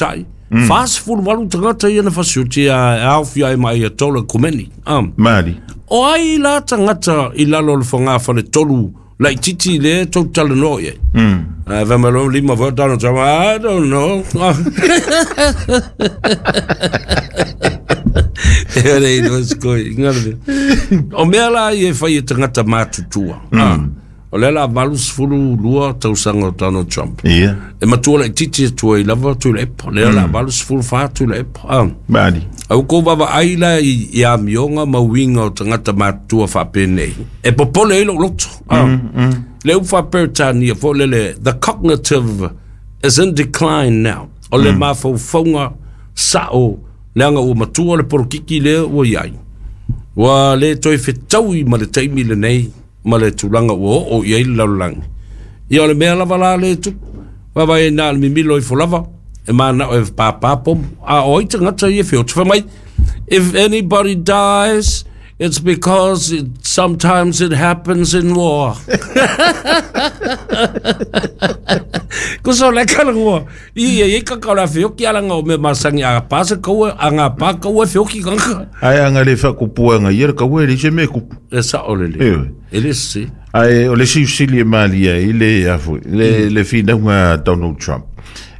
tamaitai. 48 tagata ia na fasioti a aofia ai ma Ayatollah Khomeini. Mali. O ai la tagata i lalo o le fogafale tolu laititi lea tou te talanoa i ai? Ae fai mai loa lima foi o Donald Trump, "I don't know." E le iloa se koi, ngana mea. O mea la ia e fai e tagata matutua. O lea la 82 tausaga o Donald Trump. E matua laititi atu ai lava Tuilaepa. Lea la 84 Tuilaepa. Mali. Ae ua tou vaavaai la i amioga ma uiga o tagata matutua faapenei, e popole ai lou loto. Le upu faa-Peretania foi lele, "The cognitive is in decline now." O le mafaufauga sao, leaga ua matua le polokiki lea ua i ai. Ua le toe fetaui ma le taimi lenei ma le tulaga ua oo i ai le lalolagi. Ia o le mea lava la lea e tupu, vaavaai ai na o le mimilo ifo lava, e manao e pāpā pomu. A o ai tagata ia e feoti? Fai mai, "If anybody dies, it's because sometimes it happens in war." Ko so le kala i e ka ka la feoki ala ngā o me masangi a pasa kaua a ngā pā kaua feoki kanga. Ai anga le whakupuanga ia le kaua e le se me kupu. E sa o le le. E le se. Ai o le siusili e malia i le afu, le whinaunga Donald Trump.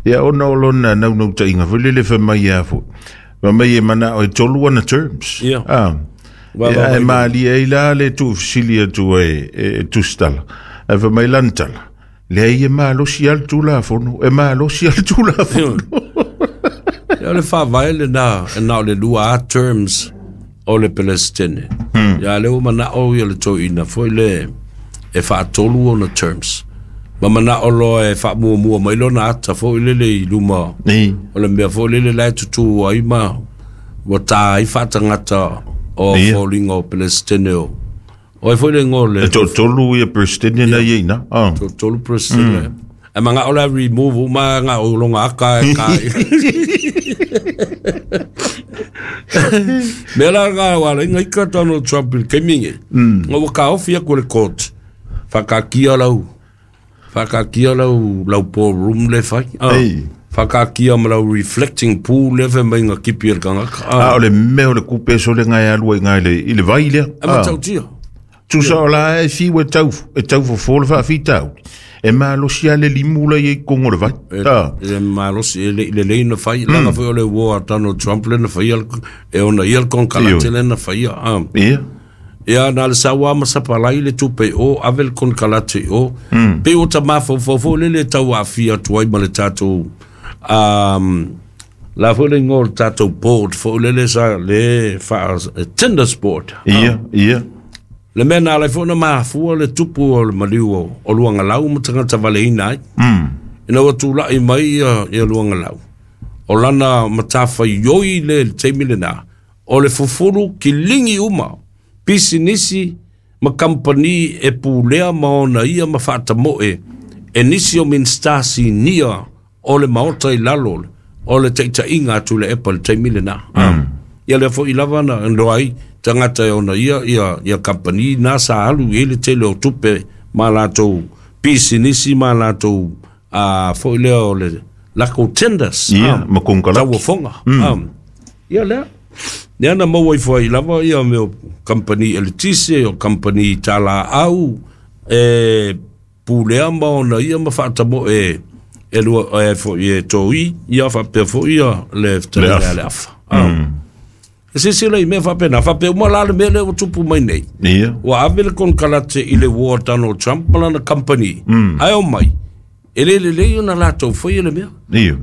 Ia ona o lona naunau tainga foi le le whamai afu. Ma mai e mana o e tolu ana terms. Ia e malia i la le tu fisili atu e tustala. E whamai lantala. Leai e malosi lava le Tulafono, e malosi lava le Tulafono. Ia o le faavae lena, e na o le lua lava terms o le Peresetene. Ia lea ua manao ia le toeaina foi le e faatolu ona terms. Ma manao loa e faamuamua mai lona ata foi lele i luma o le mea foi lele la e tutū ai ma ua ta ai faatagata o foliga o Peresetene o O ai foi le igoa o le E toatolu ia President na ia ina. Toatolu President. E manao la remove uma nga o longa aka e ka. Mea la nga wa la inga ika Donald Trump i le taimi nei. Nga ua kaofi aku e le court. Whakakia lau. Whakakia lau ballroom le fai. Whakakia ma lau reflecting pool le fai mai nga kipi e le kangaka. A o le mea o le kupe sole ngai alua i ngai le, i le vai lea. E matautia. Tusa o la e fiu e tau fofo le faafitauli. E malosi lava le limu la i totonu o le vai. E malosi, e le lelei na fai. Leaga foi o le uo a Donald Trump le na faia, e ona ia le konekarate le na faia. Ia, na le sau lava ma sapalai le tupe i o, ave le konekarate i o. Pei ua ta mafaufau foi lele e tau aafia atu ai ma le tatou, la foi le igoa o le tatou board foi lele sa le faa, tenders board. Ia, ia. Le mea na ala ai foi ona mafua le tupu o le maliu o Luagalau ma tagata valeina ai. Ina ua tulai mai ia Luagalau, o lana matafaioi le taimi lena, o le fufulu kiligi uma, pisinisi ma kamupani e pulea ma ona ia ma faatamoe e nisi o Minisita sinia o le Maota i lalo o le taitaiga a Tuilaepa i le taimi lena. Ia lea foi lava na iloa ai tagata e ona ia kamupani na sa alu i ai le tele o tupe ma latou pisinisi ma latou foi lea o le lakou tenders. Ia, ma konekarate. Tauofoga. Ia lea. Lea na maua ifo ai lava ia mea o kamupani eletise, o kamupani talaau, e pulea ma ona ia ma faatamoe e lua, e foi e toi, ia faapea foi ia le fetalaiga a le Afa. E silasila i mea faapena, faapea uma la le mea lea ua tupu mai nei. Ua ave le konekarate i le uo a Donald Trump ma lana kamupani, ae omai, e le lelei ona latou faia le mea.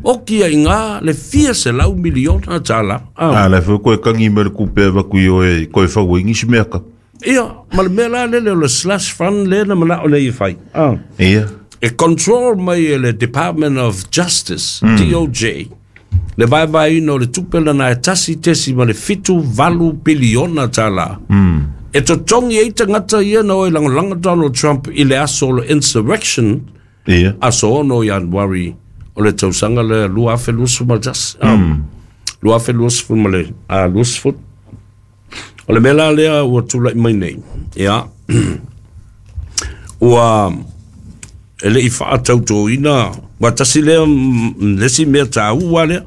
Oki ai ngā le fia selau miliona tala. A la foi koe kangi me le kupe avatu i oe koe fau ai nisi mea ka. Ia, ma le mea la lele o le slush fund le na manao nei e fai. E control mai e le Department of Justice, DOJ, le vaevaeina o le tupe lana e 1.78 piliona tala. E totogi ai tagata ia na o e lagolago Donald Trump i le aso o le insurrection, aso 6 Ianuari o le tausaga lea 2021. 2020 20. O le mea la lea ua tulai mai nei, ia, ua e le i faatautoina, ua tasi lea le isi mea taua lea.